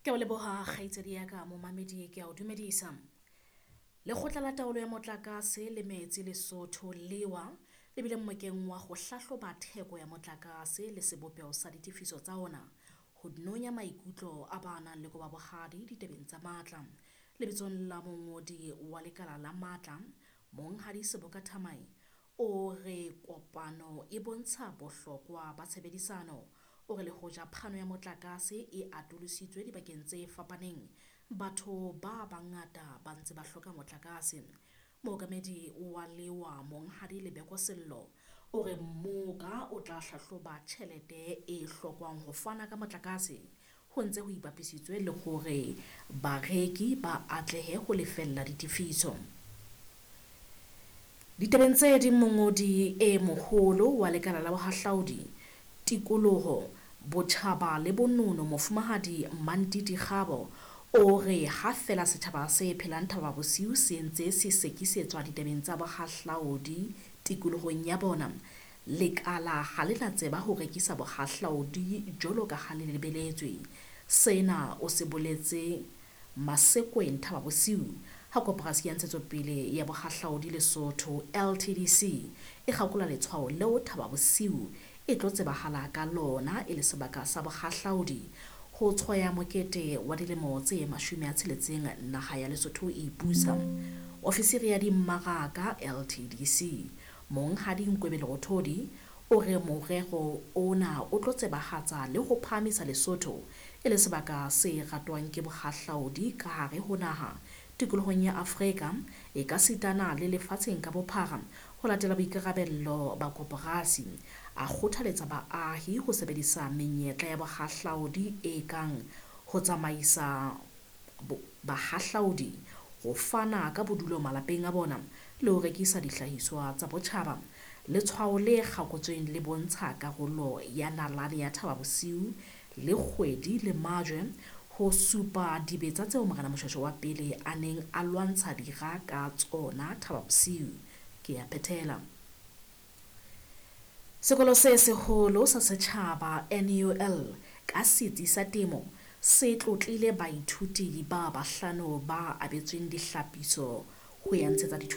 Ke a o leboha kgaitsedi ya ka, momamedi ke a o dumedisa. Lekgotla la Taolo ya Motlakase le Metsi Lesotho LEWA le bile mmokeng wa ho hlahloba theko ya motlakase le sebopeho sa ditefiso tsa ona ho nonya maikutlo a ba nang le koba bohadi ditabeng tsa matla. Lebitsong la mongodi wa lekala la matla, Monghadi Seboka Thamae, o re kopano e bontsha bohlokwa ba tshebedisano. O re le hoja phano ya motlakase e atolositswe dibakeng tse fapaneng, batho ba bangata ba ntse ba hloka motlakase. Mookamedi wa lewa Monghadi Lebeko Sello o re mmoka o tla hlahloba tjhelete e hlokwang ho fana ka motlakase ho ntse ho ipapisitswe le hore bareki ba atlehe ho lefella ditefiso. Ditabeng tse ding, mongodi e moholo wa lekala la bohahlaudi, tikoloho, botjhaba le bonono Mofumahadi Mantiti Kgabo o re ha feela setjhaba se phelang Thaba Bosiu se ntse se sekisetswa ditabeng tsa bohahlaudi tikolohong ya bona, lekala ha le na tseba ho rekisa bohahlaudi jwalo ka ha le lebeletswe. Sena o se boletse Masekweng Thaba Bosiu ha Koporasi ya Ntshetsopele ya Bohahlaudi Lesotho LTDC e kgakola letshwao leo Thaba Bosiu e tlo tsebahala ka lona e le sebaka sa bohahlaudi ho tshwaya mokete wa dilemo tse 60 naha ya Lesotho e ipusa. Ofisiri ya dimmaraka LTDC, Monghadi Nkwebe Lerothodi, o re morero ona o tlo tsebahatsa le ho phahamisa Lesotho e le sebaka se ratwang ke bohahlaudi ka hare ho naha, tikolohong ya Afrika e ka sitana le lefatsheng ka bophara ho latela boikarabello ba koporasi. A kgothaletsa baahi ho sebedisa menyetla ya bohahlaudi e kang ho tsamaisa bahahlaudi, ho fana ka bodulo malapeng a bona le ho rekisa dihlahiswa tsa botjhaba. Letshwao le kgakotsweng le bontsha karolo ya nalane ya Thaba Bosiu le kgwedi le majwe ho supa dibetsa tseo Morena Moshoeshoe wa pele a neng a lwantsha dira ka tsona Thaba Bosiu. Ke a phethela. Sekolo se seholo sa setjhaba NUL ka setsi sa temo se tlotlile baithuti ba bahlano ba abetsweng dihlapiso ho ya ntshetsa dithuto.